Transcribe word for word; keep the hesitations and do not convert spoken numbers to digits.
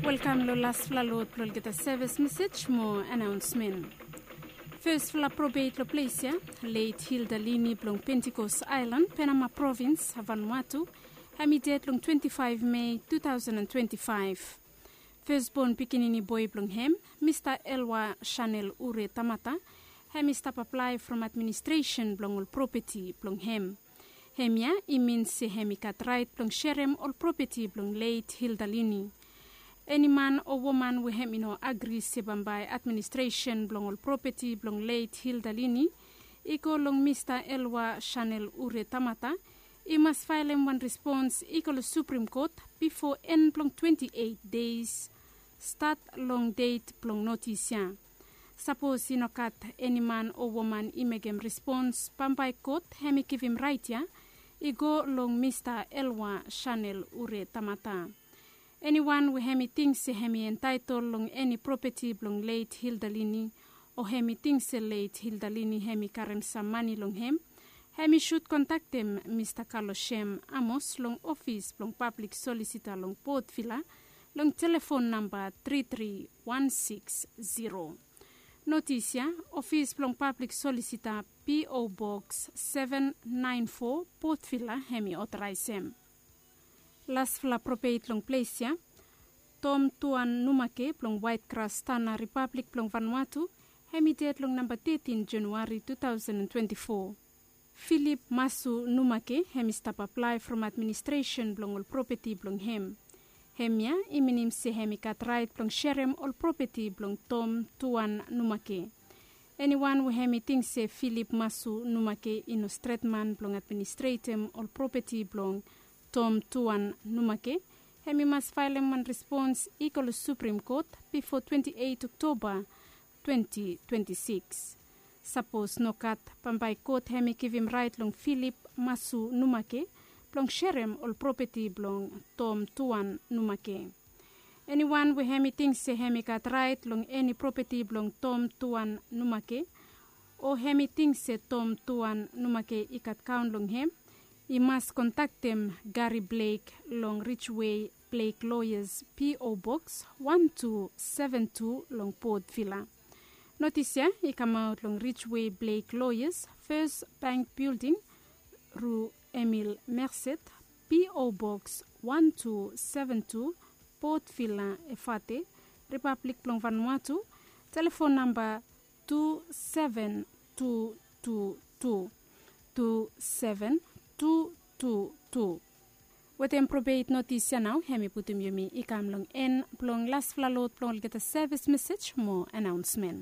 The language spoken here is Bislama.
Welkam long lasfala lod blong olgeta sevis mesej mo anaonsmen. Fesfala probeit long ples ya, leit Hilda Lini blong Pentikos Aelan, Penama Provins, Vanuatu, hem i ded long twenti faef Mei tu taosen an twenti faef. Fesbon pikinini boe blong hem, Mista Elwa Chanel Ure Tamata, hem i stap aplae from administresen blong ol propeti blong hem. Hemia i min se hem i gat raet blong serem ol propeti blong leit Hilda Lini. Eni man o woman we hem i no agri se bambae administresen blong ol propeti blong leit Hilda Lini i go long Mista Elwa Chanel Ure Tamata, i mas faelem wan respons i go long Suprim Kot bifo en blong twenti eit deis stat long det blong notis ya. Sapos i no gat eni man o woman i mekem respons, bambae kot hem i givim raet ya i go long Mista Elwa Chanel Ure Tamata. Eniwan we hem i ting se hem i entaetol long eni propeti blong leit Hilda Lini, o hem i ting se leit Hilda Lini hem i karem sam mane long hem, hem i sud kontaktem Mista Kalosem Amos long ofis blong pablik solisita long Port Vila long telefon namba tri tri wan siks ziro. Notis ya, ofis blong pablik solisita, P O Boks seven naen fo, Port Vila, hem i otoraesem. Lasfala probeit long ples ya, Tom Tuan Numake blong Waet Gras Tana, Ripablik blong Vanuatu, hem i ded long namba tetin Januari tu taosen an twenti fo. Filip Masu Numake hem i stap aplae from administresen blong ol propeti blong hem. Hemia i minim se hem i gat raet blong serem ol propeti blong Tom Tuan Numake. Eniwan we hem i ting se Filip Masu Numake i no stret man blong administretem ol propeti blong Tom Tuan Numake, hem i mas faelem wan respons i go long Suprim Kot bifo twenti eit Oktoba twenti twenti sikis. Sapos nogat, bambae kot hem i givim raet long Filip Masu Numake blong serem ol propeti blong Tom Tuan Numake. Eniwan we hem i ting se hem i gat raet long eni propeti blong Tom Tuan Numake, o hem i ting se Tom Tuan Numake i gat kaon long hem, i mas kontaktem Gari Blek long Rijwe Blek Loyas, P O Boks wan tu seven tu, long Port Vila. Notis ya i kamaot long Rijwe Blek Loyas, Fes Bank Bilding, Ru Emil Merced, P O Boks wan tu seven tu, Port Vila, Efate, Ripablik blong Vanuatu. Telefon namba tu seven tu tu tu, tu seven tu tu tu. Wetem probeit notis ya nao hem i putum yumi i kam long en blong lasfala lod blong olgeta sevis mesej mo anaonsmen.